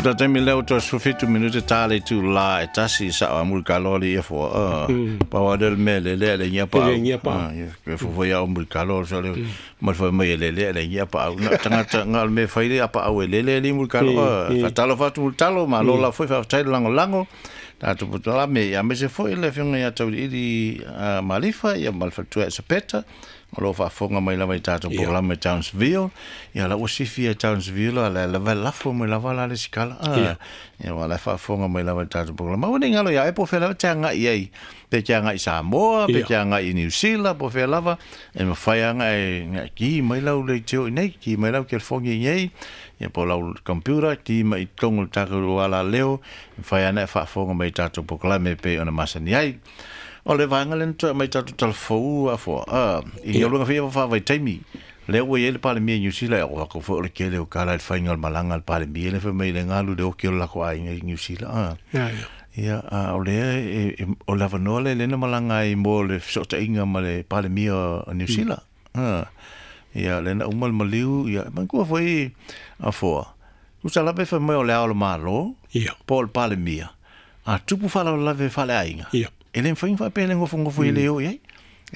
Le taimi lea ua toe 17 minute ta le itulā e tasi i sa'o a Mulitalo alii ia foa. Pau lava lea o le mea e lele ae leai ni apaau. E leai ni apaau. E fofo ia o Mulitalo o le ma le fai mai e lele ae leai ni apaau. Na o tagata na o le mea e fai le apaau e lele alii Mulitalo. Faatalofa atu Mulitalo, malo lava foi faafetai le lagolago. Tatou polokalame ia aemaise foi le afioga ia Tauiliili Malifa ia ma le faletua ia Esapeta o lo o faafofoga mai lava i tatou polokalame i Townsville. Ia la ua sifi i Townsville a la lava lafo mai lava la le sikala. Ia ua la faafofoga mai lava i tatou polokalame. Aua ne i galo ia oe po o fea lava e te agai i ai, pe te agai i Samoa, pe te agai i Niu Sila, po o fea lava, e mafai lava ona e ki mai lau leitio i inei, ki mai lau telefoni i inei, ia po o lau computer, ki mai i totonu o le tatou alaleo, e mafai lava ona e faafofoga mai i tatou polokalame e pei ona masani ai. O le vaega lea na toe aumai i tatou talafou afoa, i galuega foi ia faavaitaimi, lea ua i ai le Palemia i Niu Sila, e oo atu foi o le tele o tala i le faiga o le malaga a le Palemia lea fai mai le galu i le oti o le latou aiga i Niu Sila. Ia, a o lea o le avanoa lea lea na malaga ai mo le fesootaiga ma le Palemia o Niu Sila. Ia, lea na uma le maliu, ia, manatua foi afoa, tusa lava e fai mai o le Ao o le Malo, po o le Palemia, a tupu faalavelave faaleaiga, e le mafai ona faapea e le nofonofo e le o i ai.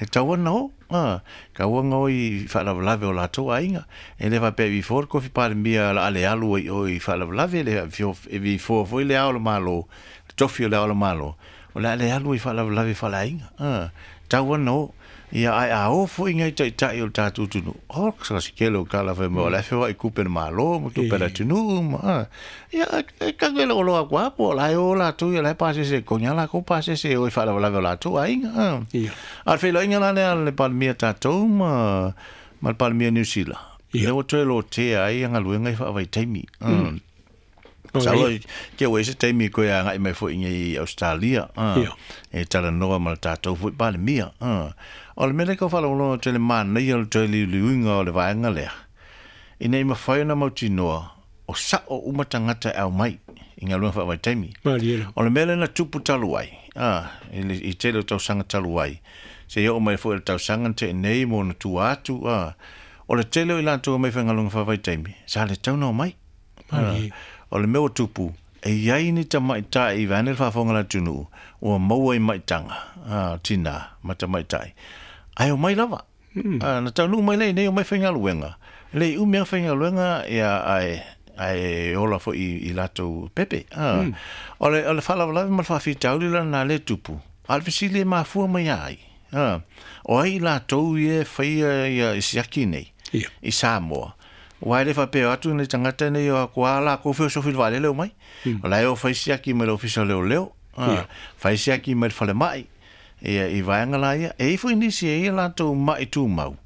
E tatau ona o, tatau ona o i faalavelave o latou aiga. E le faapea e vifoa le tofi Palemia o le a le alu ai i o i faalavelave, e le e vifoa foi le Ao o le Malo, le tofi o le Ao o le Malo, o le a le alu ai i faalavelave faaleaiga. E tatau ona o. Ia, ae a o foi nai taitai o le tatou atunuu, o se tele o tala fai mai o la e feoai i tupe a le Malo ma tupe a le atunuu ma, ia, e tau e loaloa atu lava po o la e o latou ia la e pasese e totogi lava latou pasese e o i faalavelave o latou aiga. A o le feiloaiga la lea a le Palemia tatou ma le Palemia o Niu Sila, lea ua toe lotea ai galuega ia faavaitaimi. Masalo te ua i ai se taimi e toe agai mai foi i Ausetalia e talanoa ma le tatou foi Palemia. O le mea lea e tau faalogologo atu ai i le manaia o le toe liuliuina o le vaega lea, ina ia mafai ona mautinoa o sao uma tagata e aumai i galuega faavaitaimi. O le mea lea na tupu talu ai, i le tele o tausaga talu ai, seia oo mai foi i le tausaga na tea nei ma ona tua atu, o le tele o i latou e omai i faigaluega faavaitaimi, sa le tatau ona omai. O le mea ua tupu, e i ai ni tamaitai vaeane le faafofoga a le atunuu ua maua i maitaga, tinā ma tamaitai, ae omai lava. Na taunuu mai lea i inei omai faigaluega, e le i umi lava faigaluega ia ae ae ola foi i latou pepe. O le faalavelave ma le faafitauli la lena lea e tupu, a o le fesili e mafua mai ia ai? O ai i latou ia e faia ia i siaki nei i Samoa? Aua e le faapea o atu nei tagata nei o atu lava latou feosofi i le vaalele omai. O la e o fai siaki mai le Ofisa o Leoleo, fai siaki mai le falemai, ia, i vaega la ia. E i ai foi nisi e i ai a latou mai tumau,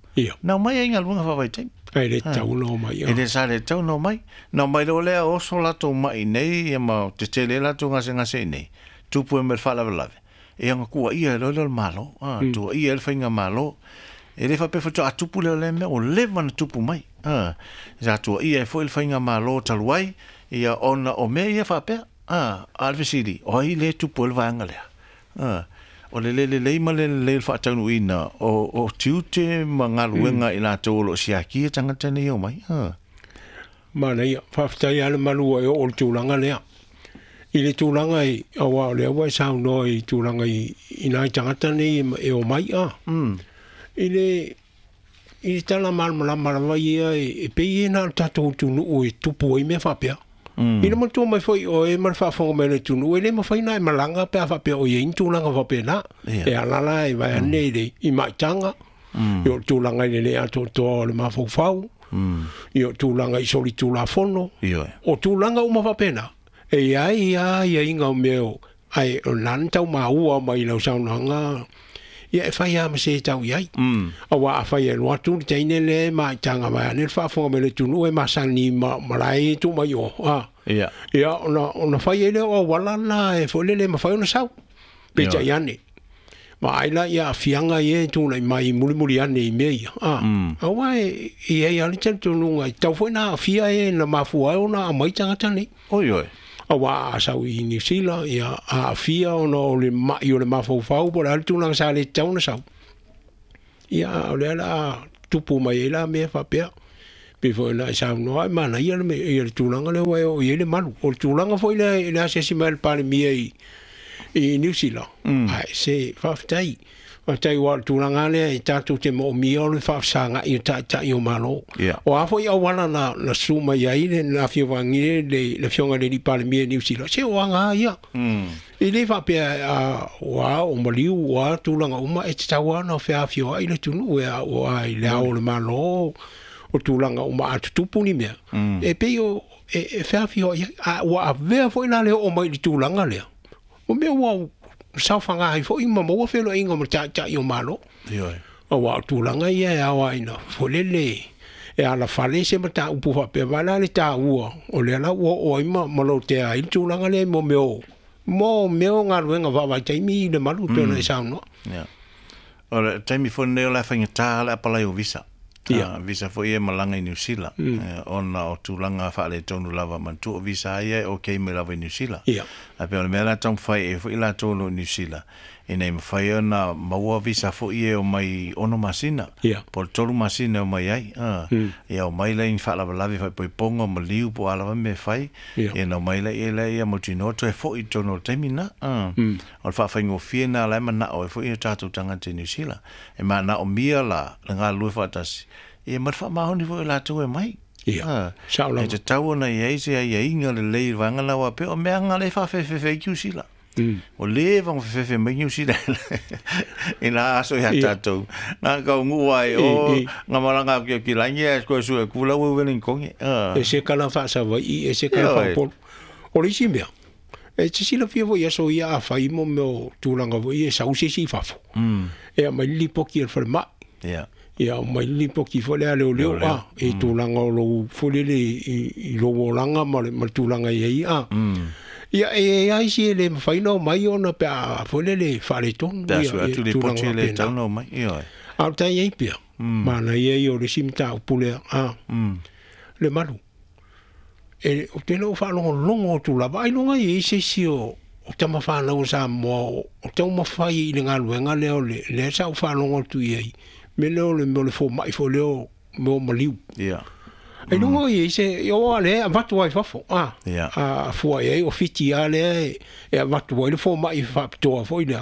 na omai ai i galuega faavaitaimi. E le tatau ona omai. E le sa le tatau ona omai. Na omai loa lea oso latou mai i nei ia ma tetele ai latou gasegase i nei, tupu ai ma le faalavelave. Ia ona tuuaia loa lea o le Malo, tuuaia ai le faigamalo. E le faapea faatoa tupu lea o lea mea, ua leva ona tupu mai. Sa tuuaia ai foi le faigamalo talu ai, ia ona o mea ia faapea. A o le fesili, o ai lea e tupu ai le vaega lea? O le le lelei ma le lelei o le faataunuuina o tiute ma galuega a i latou o lo o siakia tagata nei e omai. Manaia, faafetai lava le malu ua e oo i le tulaga lea. I le tulaga i, aua o lea ua e saunoa i tulaga i, i nai tagata nei e omai a. I le, i le tala malamalama lava ia e, e pei e na o le tatou atunuu e tupu ai mea faapea. Ina manatua mai foi oe ma le faafofoga mai a le atunuu, e le mafai ona e malaga pe a faapea o i ai ni tulaga faapena. E ala la e vaeane i le i maitaga, i o tulaga i le le atoatoa o le mafaufau, i o tulaga i solitulafono, o tulaga uma faapena. E i ai lava aiaiga o mea o, ae o lena na tau maua mai i lau saunoaga, ia e fai lava ma se tau i ai. Aua afai e alu atu le teine lea e maitaga vaeane le faafofoga mai le atunuu e masani ma malae e tuu mai o, a. Ia, ona fai ai lea o auala la e foi lele e mafai ona sau. Peitai ane, vaai la i aafiaga ia e tulai mai mulimuli ane i mea ia, a. Aua e i ai lava le talitonuga e tatau foi ona aafia e na mafua ai ona aumai tagata nei. Oi oi. Aua a sau i Niu Sila, ia aafia ona o le mai o le mafaufau po o le a le tulaga sa le tatau ona sau. Ia, a o lea o le a tupu mai ai la mea faapea. Pei foi na e saunoa ai manaia le ia le tulaga lea ua e oo i ai le malu. O le tulaga foi lea i le asiasi mai a le Palemia i Niu Sila, ae se faafetai. Faafetai aua o le tulaga lava lea e tatou te moomia o le faafesagai o taitai o Malo. O a foi auala na susu mai ai le afioga le Afioga i le Alii Palemia i Niu Sila, se o aga lava ia. E le faapea ua o maliu, ua tulaga uma, e tatau lava ona feafioai le atunuu e aua i le ao o le Malo, o tulaga uma a tutupu ni mea, e pei o e feafioai ai. A ua avea foi la le oo mai i le tulaga lea, o mea ua saofaga ai foi ma maua feloaiga ma taitai o Malo. Aua o tulaga ia e ao ai na folele e alafale se mataupu faapea vai la le taua o lea la ua oo ai ma lotea ai le tulaga lea mo mea o galuega vaavaitaimi i le malu pei ona e saunoa. O le taimi foi lenei o le faigata le apalai o visa. Visa foi e malaga i Niu Sila, ona o tulaga faaletonu lava manatua o visa ia e okay mai lava i Niu Sila. Ae pei o le mea la taumafai e foi latou o lo o i Niu Sila, ina ia mafai ona maua visa foi e omai 6 masina, po o le 3 masina e omai ai. Ia omai lea i ni faalavelave faaipoipoga o maliu po o a lava mea e fai, ia na omai lea ia mautinoa toe foi i totonu o le taimi lena. O le faafaigofie na la e manao ai foi o tatou tagata i Niu Sila. E manaomia la le galulue faatasi, ia ma le faamaoni foi o latou e mai. E tatau ona i ai se aiaiga lelei i le vaega lena, aua pei o mea lena lea e faafefefe ai Niu Sila. O leva ona fefefe mai Niu Sila i nā aso ia tatou. Nā kaunuu ai o ngā malaga atu ki langi ae koe sue kula ua Wellington. E se kala faasavaii, e se kala faapolu. O le isi mea, e te silafia foi aso ia a fai mo mea o tulaga foi e sau se isi i fafo. E aumai le lipoti a le falemai. Ia aumai le lipoti foi lea a leoleo a, i tulaga o lou foi lele i lou olaga ma le tulaga i ai a. Ia e ai isi e le mafai ona omai ona pe a foi lele faaletonu ia tulaga faapena. A o le tai ai pea, manaia ia o le isi mataupu lea a, le malu. E o te le o faalogologo atu lava, ailoga i ai se isi o tamafanau o Samoa o taumafai i le galuega lea o lea sa ou faalogo atu i ai, me lea o le mea o le fomai foi lea o mea o maliu. Ailoga i ai se, o lea e avatu ai fafo, a fua i ai o Fiti a lea e avatu ai le fomai faapitoa foi lea.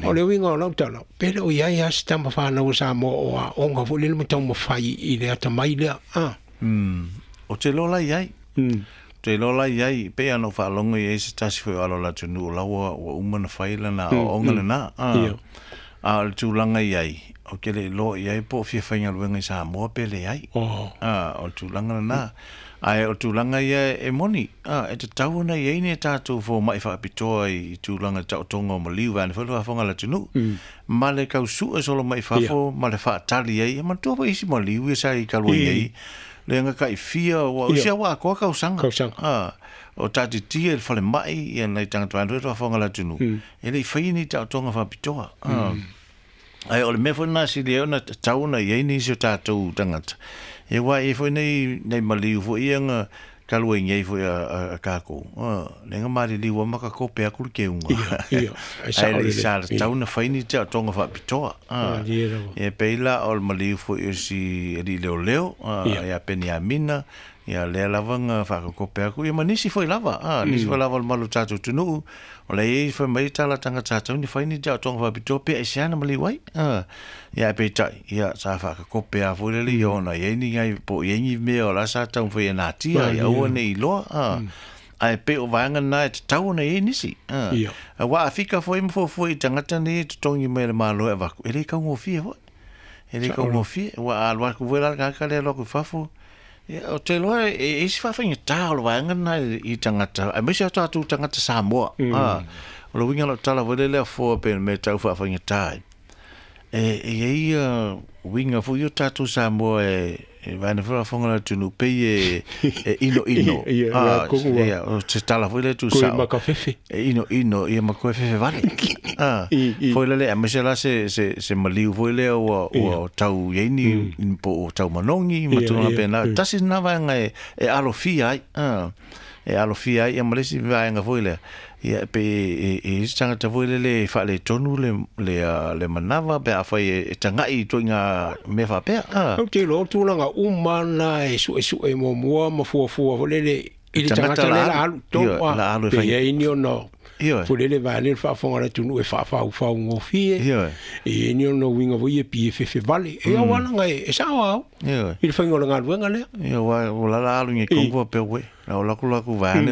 O le uiga o lau tala, pe le o i ai a se tamafanau o Samoa o aoga foi lea ma taumafai i le atamai lea. O te loa la i ai. Te loa la i ai, pe ana o faalogo i ai se tasi foi o alo o le atunuu o la ua uma na fai lana aoaoga lena. A o le tulaga i ai, o te le iloa i ai po o fia faigaluega i Samoa pe leai. O le tulaga lena. Ae o le tulaga ia e moni, e tatau ona i ai ni tatou fomai faapitoa i tulaga taotoga o maliu vaeane foi le faafofoga a le atunuu. Ma le tausue solo mai fafo, ma le faatali ai, e manatua foi isi maliu ia sa i talu ai nei. Le nga kai fia ua usia ua akoa kausaga. O tatitia i le falemai ia nai tagata vaeane foi le faafofoga a le atunuu. E le i faia ni taotoga faapitoa. Ae o le mea foi lena sili ai ona tatau ona i ai nisi o tatou tagata. E ua i ai foi nei maliu foi ia nga talu ai nei foi a tatou. Le nga maliliu a makakope atu le keuga. Ae le i sa tatau ona fai ni taotoga faapitoa. E pei la o le maliu foi o si alii leoleo, ia Peniamina, ia lea lava nga faakakope atu. Ia ma nisi foi lava, nisi foi lava o le malu o tatou atunuu. O le i fai mai tala tagata tatau ni fai ni taotoga faapitoa pe aisea na maliu ai. Ia e peitai, ia sa faakakope a foi lele ia ona i ai ni ngai po o i ai ni mea o la sa taumafai e natia ia aua nei iloa. Ae pei o vaega na e tatau ona i ai nisi. Aua a fika foi ma fuafua i tagata nei e totogi mai e le Malo e avatu, e le taugofie foi. E le taugofie, ua alu atu foi la le tagata lea alu atu i fafo. Ia, o te iloa e isi faafaigata o le vaega lena i tagata, aemaise o tatou tagata Samoa. O le uiga o lau tala foi lea foa pe mea tau faafaigata ai. E i ai uiga foi o tatou Samoa e vaena foi faafofoga le atunuu pei e ino ino. Ia, o se tala foi lea tuusao. Koe makafefe. E ino ino, ia ma koe fefe vale. Foi lele, aemaise la se maliu foi lea ua tau i ai ni po o tau manogi ma tulaga pena. Tasi lena vaega e alofia ai. E alofia ai ia ma le isi vaega foi lea, ia pe e i isi tagata foi lele e faaletonu le manava pe afai e tagai i ituaiga mea faapea. Ou te iloa o tulaga uma na e suesue muamua ma fuafua foi lele i le tagata lea la alu tonu a pe i ai ni ona foi lele vaeane le faafofoga a le atunuu e faafaufau gofie. E i ai ni ona uiga foi ia pei e fefevale e aualaga e sao au i le faiga o le galuega lea. Ioe, ua la alu i kongo pe we. La o la ku vaeane.